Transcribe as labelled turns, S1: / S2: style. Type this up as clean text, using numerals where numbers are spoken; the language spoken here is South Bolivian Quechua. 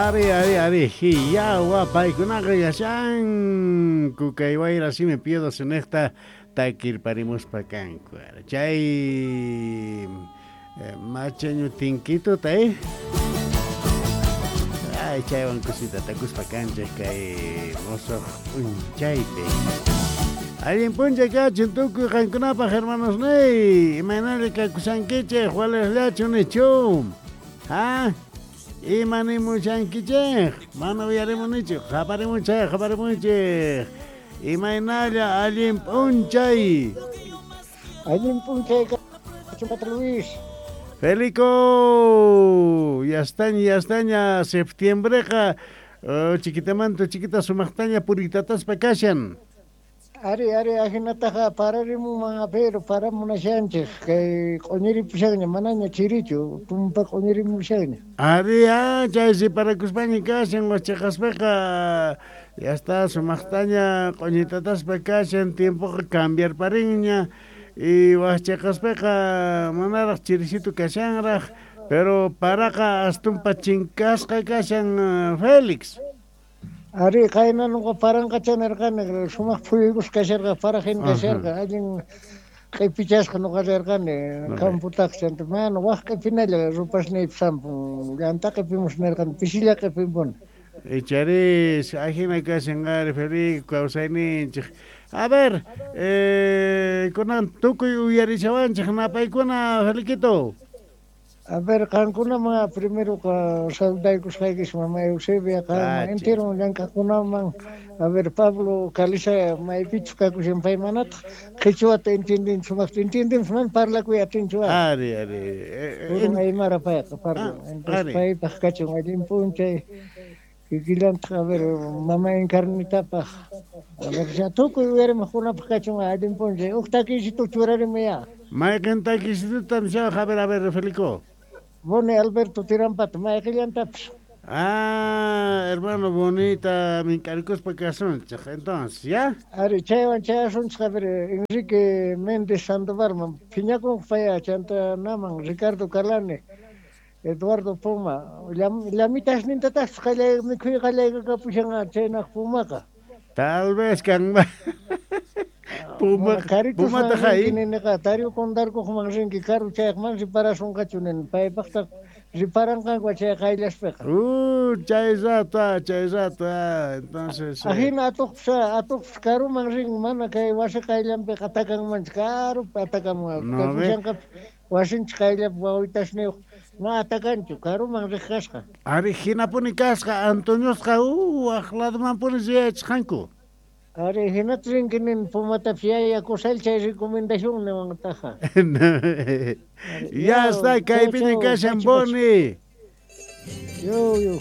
S1: Ari, ari, ari, hiyawa paykunaqa yachanku kay wayra simi piedo sinejta takirparimuspa kanku. Chay machañu tinkituta, eh? Ay, chaywan kusita takuspa kanchej kay mosoq p'unchaypi. Allin p'unchay kachun tukuy qankunapaq hermanos niy. Imaynalla kakushankichej walejllachu nichu. Ha? Ima nimushankichej? Mana uyarimunichu. Qaparimuchej, qaparimuchej. Imaynalla allin p'unchay.
S2: Allin p'unchay kachun, Patrón Luis.
S1: Felico, ya estaña, ya estaña, septiembreqa chiquitamanta chiquita sumaqtaña puritataspa kashan.
S2: Ari, ari, ajinataqa pararimunman, pero paramunashanchej, kay q'uñiripushanña, manaña chirichu, tumpa q'uñirimushanña.
S1: Ari, ah, chay parakuspaña kashan, wachaqaspaqa, ya está sumaqtaña q'uñitataspa kashan, tiempoqa cambiarparinña. Y wachaqaspaqa manaraq chirisitu kashanraq, pero paraqa astumpa chinkasqa kashan, Félix.
S2: Ari, qayna nuqa paranqacha nirqani, sumaq phuyukus kasharqa, parajin kasharqa, allin q'ipichasqa nuqa rirqani, camputaq chanta, mana waj q'ipinalla rupasniypi sampun, llanta q'ipimus nirqani, pisilla q'ipimpuni.
S1: Icharis, ajina kashan ari, Felipe, kawsayninchik. A ver, kunan tukuy uyarishawanchik napaykuna, Feliquito.
S2: A ver, qankunaman primero saludaykusqaykis mama Eusebia, qanman entero llank'aqkunaman. A ver, Pablo Calisa maypichus kakushan pay manataq qhichwata entienden sumaqta entienden mana parlakuy atinchu.
S1: Ari, ari.
S2: Purun aymara payqa parlan. Entonces paypaq kachun allin p'unchay. Kikillantaq, a ver, mama Encarnitapaq. A ver, ya tukuy uyarimaqkunapaq kachun allin p'unchay. Uj takiysitu churarimuya.
S1: Mayqin takiysitutam shawaq, a ver, Felico.
S2: Boni Alberto Tirampata, mayqillantapis.
S1: Ah, hermano, bonita, mink'arikuspa kasunchik, entonces, ¿ya?
S2: Ari, chaywan chayasunchik, a ver, Enrique Méndez Sandovalman, phiñakunqa paya, chanta naman, Ricardo Calane, Eduardo Puma, llamitasnintataqchus qallay, mikhuy qallaykakapushan chaynaq Pumaqa.
S1: Tal vez kanman. Puma, Pumata
S2: rinki niniqa, tariu kundarkuqman rinki, karu chayaqman riparasunqachu nini, paypaqtaq riparanqanku chay qayllaspiqa.
S1: Chay rato, chay rato, entonces.
S2: Ajina atuqpis karuman rin, mana kay wasi qayllanpiqa atakanmanchu, karupi atakamun. Kakushanqa wasinchik qayllapi wawitasniyuq, ma atakanchu, karuman riq kasqa.
S1: Ari, hinapuni kasqa, Antoniosqa, waq ladomanpuni riyachisqanku.
S2: Ari, hinata rinki nin Pumatapis yaya kusal chay recomendación niwantaqa.
S1: Ya está, kaypiña kashan Boni.
S2: Yo, yo.